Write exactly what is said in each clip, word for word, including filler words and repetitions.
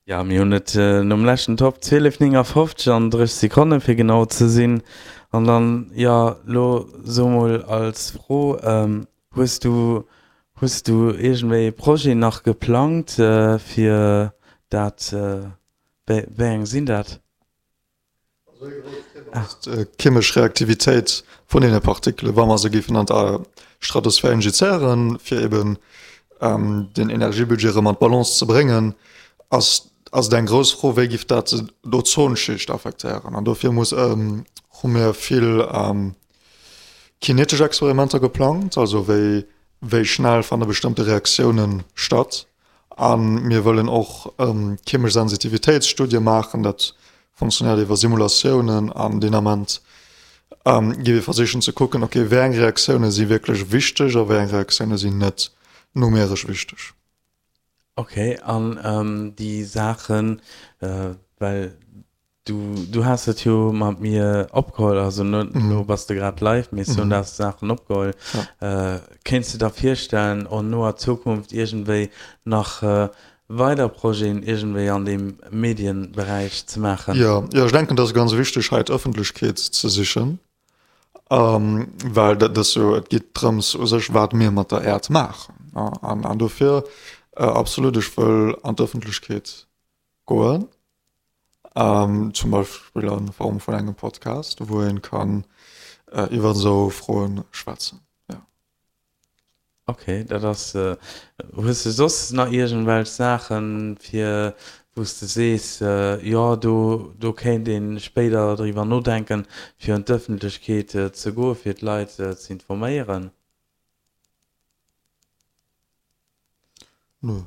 Ja, mir hunn et nom leschten Topp zwielef néngafofzeg an dréisseg Sekonne fir genau ze sinn. An dann, jo, lo so mol als Fro, hues du, hues du iergendwéi e Projet nach geplangt fir dat, wéi eng sinn dat? D'chemesch Reaktivitéit vun deene Partikelen, wa mer se géifen an d'Stratosphär injizéieren, fir eben den Energiebudget erëm an d'Balance ze bréngen, ass ass et eng grouss Fro, wéi giff dat d'Ozonschicht affektéieren. An dofir muss hu mir vill kinetesch Experimenter geplangt, also wéi wéi schnell fanne bestëmmte Reaktiounen statt. A mir wëllen och chemesch Sensitivitéitsstudie maachen, dat funktionéiert iwwer Simulatiounen an deen Ament gi mir versichen ze kucken, okay, wéi eng Reaktioune si wierklech wichteg a wéi eng Reaktioune sinn net numeresch wichteg. Okay, an déi Saachen, well du du has et jo mat mir opgeholl, also net elo bass de grad live, mee ech hunn dat Saachen opgeholl. Kéints de der virstellen en noer Zukunft iergendwéi nach weider Projeten iergendwéi an deem Medienberäich ze maachen? Jo, jo, ech denken, et ass ganz wichteg hei d'Ëffentlechkeet ze sichen, well dat ass jo, et geet drëms u sech wat mir mat der Äerd maachen an an dofir absolut, ech wëll an d'Ëffentlechkeet goen, zum Beispill a Form vun engem Podcast, wou een kann iwwer esou Froen schwätzen, jo. Ok, dat ass. Hues de soss nach iergendwelch Saachen, fir wou s de sees, jo do do kéint ee spéider driwwer nodenken, fir un d'Ëffentlechkeet ze goen, fir d'Leit ze informéieren? Nö.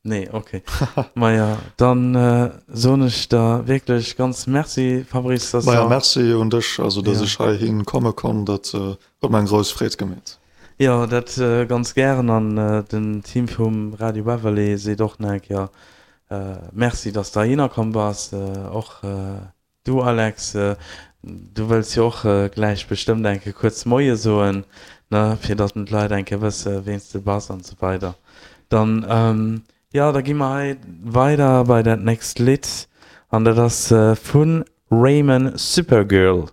Nee, ok. Maja, dann soen ech der wierklech ganz Merci, Fabrice, dass Maja, Merci un dech, also dass ech heihi komme konnt, dat huet mer eng grouss Freed gemeet. Jo, dat ganz gären an den Team vum Radio Beverley seet och nach eng Kéier Merci, dass de heihinner komm bass. Och Du Alex, du wëlls jo och gläich bestëmmt eng Kéier kuerz Moie soen, ne, fir datt d'Leit eng Kéier wësse ween s de bass an esou weider. Dann, jo, da gi mer hei weider bei dat nächst Lidd an dat ass vu Rayman Supergirl.